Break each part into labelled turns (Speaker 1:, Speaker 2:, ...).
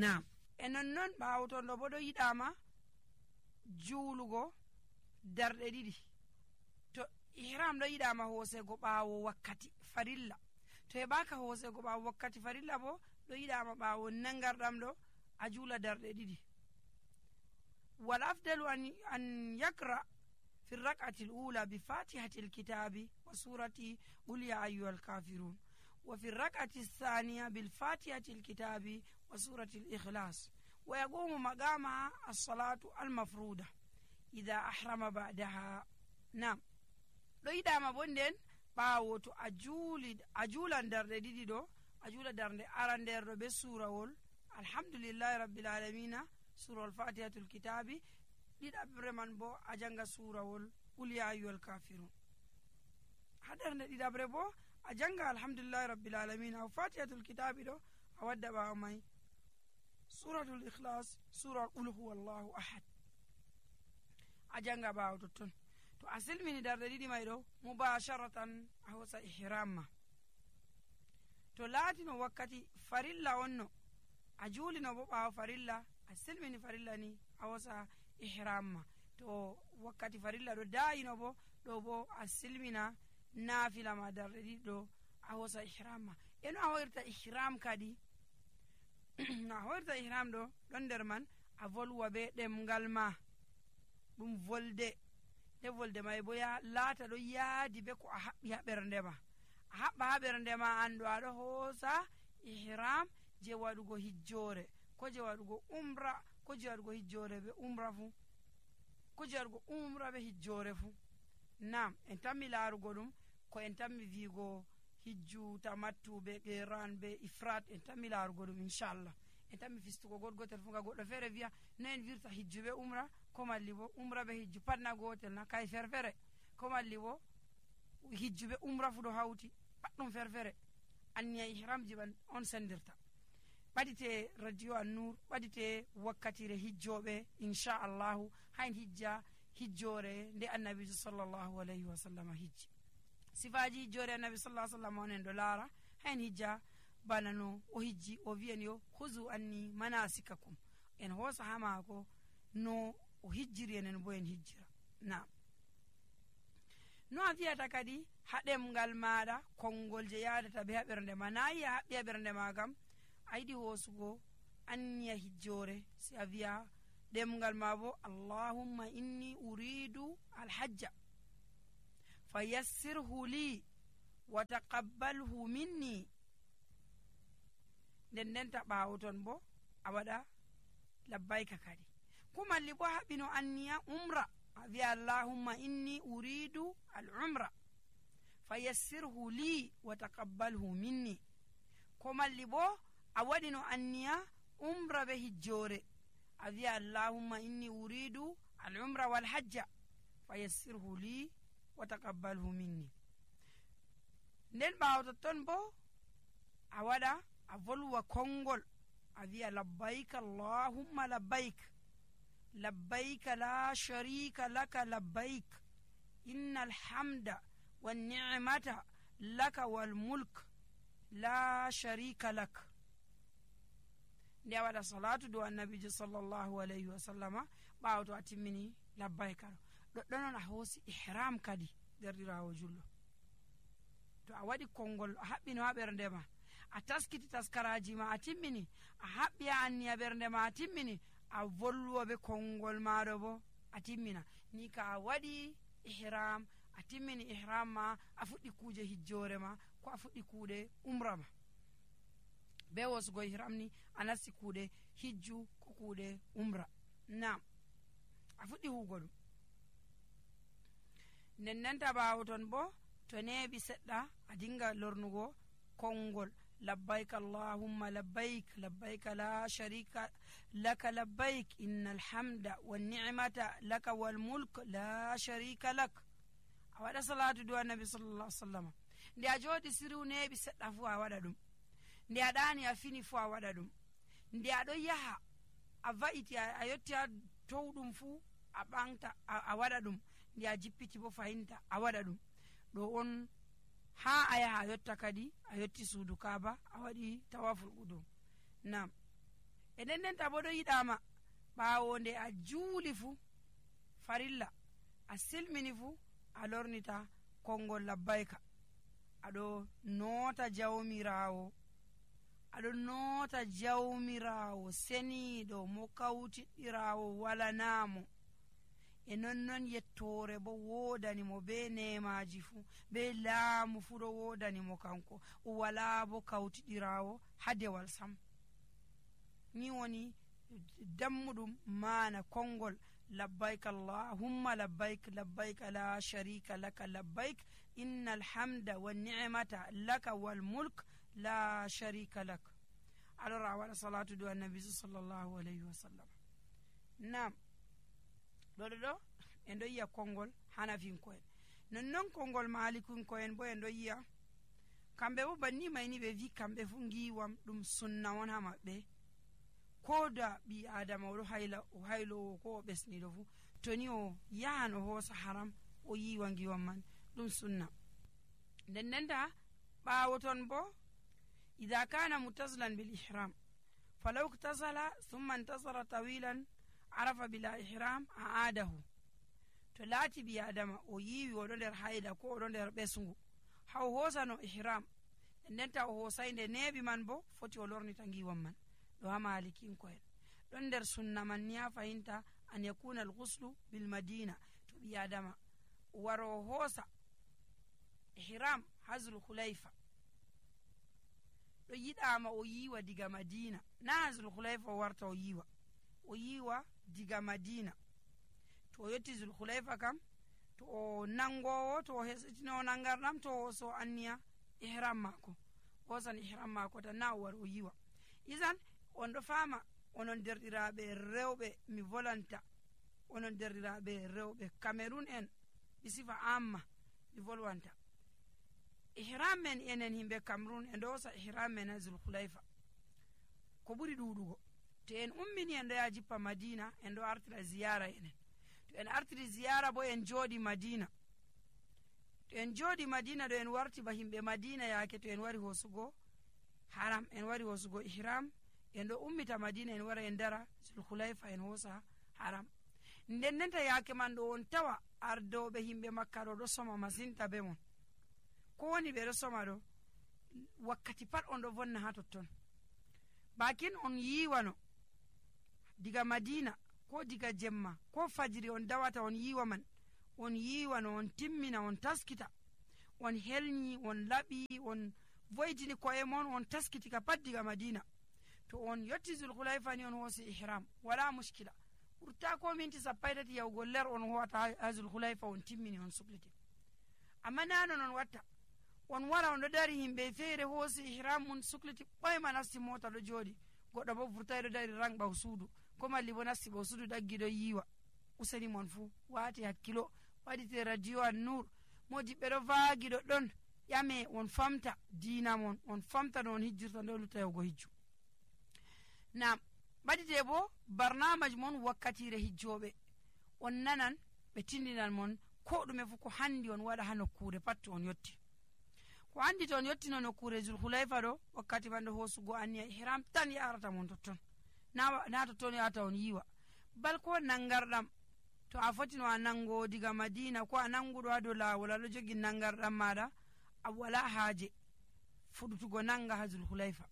Speaker 1: Naam, e non ɓaawo ton ɗo bo ɗo yiɗama juulugo darɗe ɗiɗi. To ihram ɗo yiɗama hoosego ɓaawo wakkati farilla, to heɓaka hoosego ɓaawo wakkati farilla bo ɗo yiɗama ɓaawo nangarɗam ɗo a juula darɗe ɗiɗi. wal afdalu an yakra fi rak'ati al-ula bi fatihati al-kitabi wa surati qul ya ayyuhal kafirun, wa fi rak'ati ath-thaniya bil fatihati al-kitabi wa surati al-ikhlas, wa yaqumu maqama as-salatu al-mafruda idha ahrama ba'daha. Nam, ɗo yiɗama bo nden ɓaawo to a juulan darɗe ɗiɗi ɗo, a juula darnde arandeer ɗo be surawol alhamdulillahi rabbil alamina, surawol fatihatul kitabi, ɗiɗaɓre man bo a janga surawol qul ya ayyuhal kafirun. ha darnde ɗiɗaɓre bo a janga alhamdulillahi rabbil alamina, fatihatul kitabi ɗo a wadda ɓaawo mai suratul ikhlas, sura qul huwallahu ahad a janga ɓaawo totton. to a silmini darɗe ɗiɗi may ɗo mubasharatan a hosa ihram ma. to laatino wakkati farilla onno a juulino bo ɓaawo farilla, a silmini farilla ni a hosa ihram ma. to wakkati farilla ɗo dayino bo ɗo bo a silmina naafila ma darɗe ɗiɗi ɗo a hosa ihram ma. eno a hoyrta ihram kadi no a hoyrta ihram ɗo ɗon nder man a volwa be ɗemgal ma ɗum volde. nde volde may bo laata ɗo yaadi be ko a haɓɓi ha ɓernde ma. a haɓɓa ha ɓernde ma an ɗo aɗo hoosa ihram je waɗugo hijjore, ko je waɗugo umra, ko je waɗugo hijjore be umra fu, ko je waɗugo umra be hijjore fu. Nam, en tammi laarugo ɗum ko en tammi viigo hijju tamattu be qiran be ifrat, en tammi laarugo ɗum inchallah. en tammi fistugo gotel fu, ga goɗɗo feere wiya no en wirta hijju be umra, ko malli bo umra be hijju pat na gotel na, kay ferfere, ko malli bo hijju be umra fu ɗo hawti pat ɗum ferfere. anniya ihramji ban on sendirta. ɓadite radio an-nur, ɓadite wakkatire hijjoɓe inchallahu, hayn hijja hijjore nde annabijo sallallahu alayhi wa sallam hijji. sifaji hijjore annabi sallallahu alaihi wasallam onen ɗo laara, hayn hijja bana no o hijji, o wiyan yo huzu anni manasikakum, en hoosa ha maako no o hijjiri, enen bo en hijjira. Naam, no a wiyata kadi ha ɗemgal maɗa konngol je yadata be ha ɓernde ma, nayi a haɓɓi ha ɓernde ma kam a yiɗi hoosugo anniya hijjore, si a wiya ɗemgal ma bo allahumma inni uridu alhajja fayassirhu li wa taqabbalhu minni. ndenta ɓaawo ton bo a waɗa labbayka kadi. kumalli bo haɓino anniya umra, a wiya allahumma inni uridu al umra fayassirhu li wa taqabbalhu minni. ko malli bo a waɗino anniya umra be hijjore, a wiya allahumma inni uridu al umra wal hajja fayassirhu li wa taqabbalhu minni. nden ɓaawo totton bo a waɗa a volwa konngol, a wiya labbayka allahumma labbayk labbayka la sharika laka labbayk innal hamda wan ni'mata laka wal mulk la sharika lak. nde a waɗa salatu do annabijo sallallahu alayhi wa sallama ɓaawo to a timmini labbayka ɗo ɗoɗɗonon a hoosi ihram kadi derdirawo jullo. to a waɗi konngol a haɓɓino ha ɓernde ma, a taskiti taskaraji ma, a timmini, a haɓɓi ha anniya ɓernde ma, a timmini, a volwa be konngol maɗo bo a timmina ni ka a waɗi ihram, a timmini ihram ma, a fuɗɗi kuuje hijjore ma, ko a fuɗɗi kuuɗe umra ma. be wosugo ihram ni a nasti kuuɗe hijju ko kuuɗe umra. Nam, a fuɗɗi huugo ɗum. ndenta ɓaawo ton bo to neeɓi seɗɗa a dinga lornugo konngol labbayk allahumma labbayk labbayka la sharika laka labbayk innal hamda wan ni'mata laka wal mulk la sharika lak. a waɗa salatu do annabi sallallahu alaihi wasallam. nde a jooɗi siru neeɓi seɗɗa fu a waɗa ɗum, nde a ɗaani a fini fu a waɗa ɗum, nde aɗo yaha a va'iti a yetti ha towɗum fu a ɓanta a waɗa ɗum, nde a jippiti bo fahinta a waɗa ɗum. ɗo on ha a yaha a yotta kadi a yotti suudu kaaba a waɗi tawaful qudum. Nam, e ndendenta bo ɗo yiɗama ɓawo nde a juuli fuu farilla a silmini fuu a lornita konngol labbayka, aɗo noota jawmirawo, aɗo noota jawmirawo seniiɗo mo kawtiɗɗirawo walanamo, e nonnon yettore bo wodanimo be nemaji fuu be laamu fuu ɗo wodanimo kanko, o wala bo kawtiɗirawo ha dewal sam. ni woni dammuɗum mana konngol labbayk allahumma labbayk labbayk la sharika laka labbayk inna alhamda wanni'mata laka walmulk la sharika lak. alors a waɗa salatu do annabi sallllahu alayhi wa sallam. nam ɗo en ɗo yiya konngol hanafinko'en, nonnon konngol malikinko'en bo en ɗo yiya kamɓe bo banni mayni ɓe wi kamɓe fu giwam ɗum sunna on ha maɓɓe, ko da ɓi adama oɗo haylowo ko o ɓesniɗo fu to ni o yahan o hoosa haram o yiwa giwam man ɗum sunna. ndendenta ɓawo ton bo ida kana mutasilan bil ihram falaw iktasala thumma intasara tawilan arafa bila ihram aadahu. to laati ɓi adama o yiwi oɗo nder hayda ko oɗo nder ɓesgu ha o hoosano ihram, ndendenta o hoosay nde neeɓi man bo foti o lornita giwam man. ɗo ha malikinko'en ɗon nder sunna man ni ha fayinta an yakuna alghuslu bil madina, to ɓi adama o wara o hoosa ihram ha zulhulayfa ɗo yiɗama o yiwa diga madina, na ha zulhulayfa o warta o yiwa diga madina. to o yetti zulhulayfa kam to o nangowo, to o hesitino nangarɗam, to o so anniya ihram mako, hosan ihram mako tan na o war o yiwa. isan on ɗo fama onon derɗiraɓe rewɓe, mi volanta onon derɗiraɓe rewɓe cameron en ɓe sifa amma mi volwanta ihram men enen himɓe cameron en ɗo hosa ihram men ha zulhulayfa ko ɓuri ɗuɗugo. to en ummini en ɗo ya jippa madina en ɗo artira ziyara enen, to en artiri ziyara bo en jooɗi madina, to en jooɗi madina ɗo en warti ba himɓe madina yaake to en wari hosugo haram, en wari hosugo ihram, en ɗo ummita madina en wara en dara zulhulayfa en hosa haram. ndendenta yaake man ɗo on tawa ardowɓe himɓe makka ɗo soma masinta be mon, ko woni ɓe ɗo soma ɗo wakkati pat on ɗo vonna ha totton. bakin on yiwano diga madina ko diga jemma ko fajiri on dawata on yiwa man, on yiwano on timmina on taskita, on helñi on laɓi on voytini ko'e mon on taskiti ka pat diga madina. to on yetti zulhulayfa ni on hoosi ihram wala muskila, ɓurta ko minti sappo tati yahugo ler on howata ha zulhulayfa on timmini on sukliti. amma nano non watta on wara on ɗo dari himɓe feere hoosi ihram mum sukliti ɓoyma nasti mota ɗo jooɗi, goɗɗo bo vurtay ɗo dari rang ɓaw suudu, ko malli bo nasti ɓaw suudu ɗaggi ɗo yiwa. useni mon fuu waati hakkilo, waɗite radio an nour, modiɓɓe ɗo vaagi ɗoɗɗon ƴame on famta diina mon, on famta no on hijjirta ndo lutta yahugo hijju. nam ɓaɗite bo barnamaji mon wakkatire hijjoɓe on nanan ɓe tindinan mon ko ɗume fu ko handi on waɗa ha nokkure pat to on yetti. ko handi to on yettino nokkure zulhulayfa ɗo wakkati man ɗo hoosugo anniya ihram tan yarata mon totton, na totton yata on yiwa. bal ko nangarɗam to a fotino a nango diga madina ko a nanguɗo ha dow lawol aɗo jogi nangarɗam maɗa, a wala haaje fuɗutugo nanga ha zulhulayfa,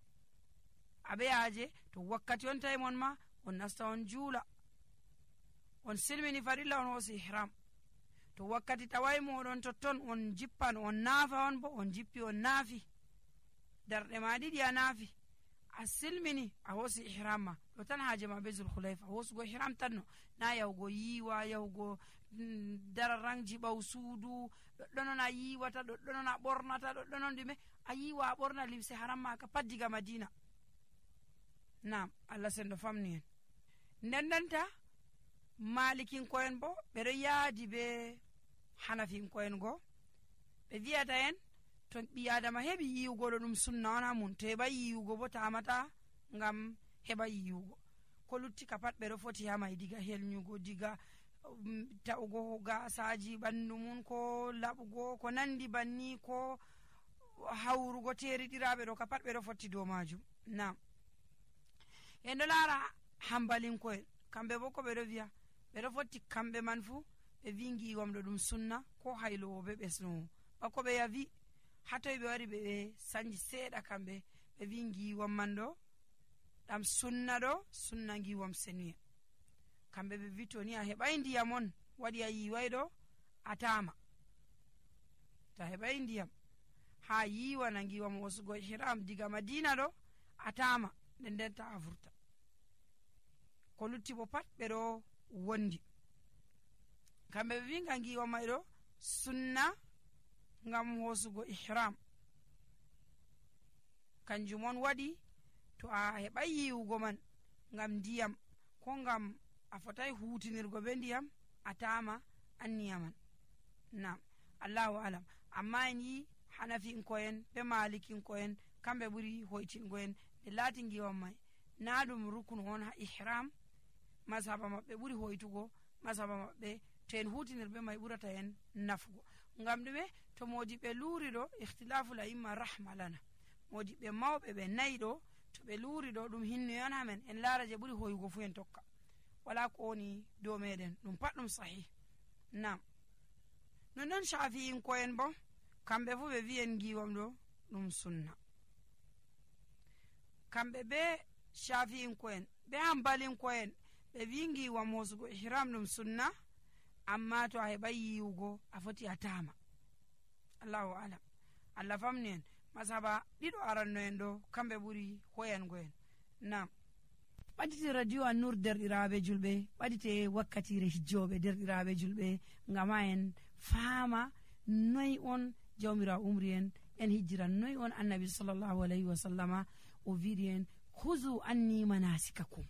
Speaker 1: aɓe haaje to wakkati on tawi mon ma on nasta on juula, on silmini farilla on hoosi ihram. to wakkati tawai moɗon totton on jippan on naafa on bo on jippi on naafi, darɗe ma ɗiɗi a naafi, a silmini a hoosi ihram ma, ɗo tan haaje ma be zulhulayfa hoosugo ihram tan no, na yahugo yiwa yahugo dararangji ɓaw suudu ɗoɗɗonon a yiwata, ɗoɗɗonon a ɓornata, ɗoɗɗonon ɗume a yiwa a ɓorna limse haram maka pat diga madina. nam allah senɗo famni en. ndendenta malikinko'en bo ɓeɗo yaadi be hanafinko'en go, ɓe wiyata en to ɓi adama heɓi yiwugo ɗo ɗum sunna on ha mum, to heɓa yiwugo bo tamata ngam heɓa yiwugo. ko lutti ka pat ɓeɗo foti hamay diga helñugo, diga ta'ugo gasaji ɓandu mum, ko laɓugo ko nandi banni, ko hawrugo teriɗiraɓe ɗo ka pat ɓeɗo fotti dow majum. nam en ɗo laara hambalinko'en kamɓe bo ko ɓe ɗo wiya ɓe ɗo fotti kamɓe man fuu ɓe wi ngiwam ɗo ɗum sunna ko haylowo be ɓesnowo bako ɓe yavi hatoy ɓe wari ɓe sanji seeɗa kamɓe ɓe wi ngiwam man ɗo ɗam sunna ɗo sunna ngiwam senuye kamɓe ɓe wi to ni a heɓai ndiyam on waɗi a yiwai ɗo a tama to a heɓai ndiyam ha yiwana ngiwam hosugo ihram diga madina ɗo a tama nden nden ta a vurta ko lutti bo pat ɓe ɗo wondi kamɓe ɓe wi nga ngiwam mai ɗo sunna ngam hosugo ihram kanjum on waɗi to a heɓai yiwugo man ngam ndiyam ko ngam a fotai hutinirgo be ndiyam a tama anniya man nam allahu alam amma en yi hanafinko'en be malikinko'en kamɓe ɓuri hoytingo'en nde laati ngiwam mai na ɗum rukunu on ha ihram masaba maɓɓe ɓuri hoytugo masaba maɓɓe to en hutinir be mai ɓurata en nafugo ngam ɗume to modiɓɓe luuri ɗo ihtilafu la imma rahma lana modiɓɓe mawɓe ɓe nayi ɗo to ɓe luuri ɗo ɗum hinnoyon hamen en laara je ɓuri hoyugo fu en tokka wala ko woni dow meɗen ɗum pat ɗum sahih nam nonnon shafi'inko'en bo kamɓe fu ɓe wi'en ngiwam ɗo ɗum sunna kamɓe be shafi'inko'en be hambalinko'en ɓe wi ngiwam hosugo ihram ɗum sunna amma to a heɓai yiwugo a foti a tama allahu alam allah famni en masaba ɗiɗo aranno'en ɗo kamɓe ɓuri hoyango'en nam ɓadite radio An-Nur derɗiraɓe julɓe ɓadite wakkatire hijjoɓe derɗiraɓe julɓe ngam ha en faama noy on jawmirawo umri en hijjira noy on annabi sallllahu alayhi wa sallama o wiɗi en huzu anni manasikakum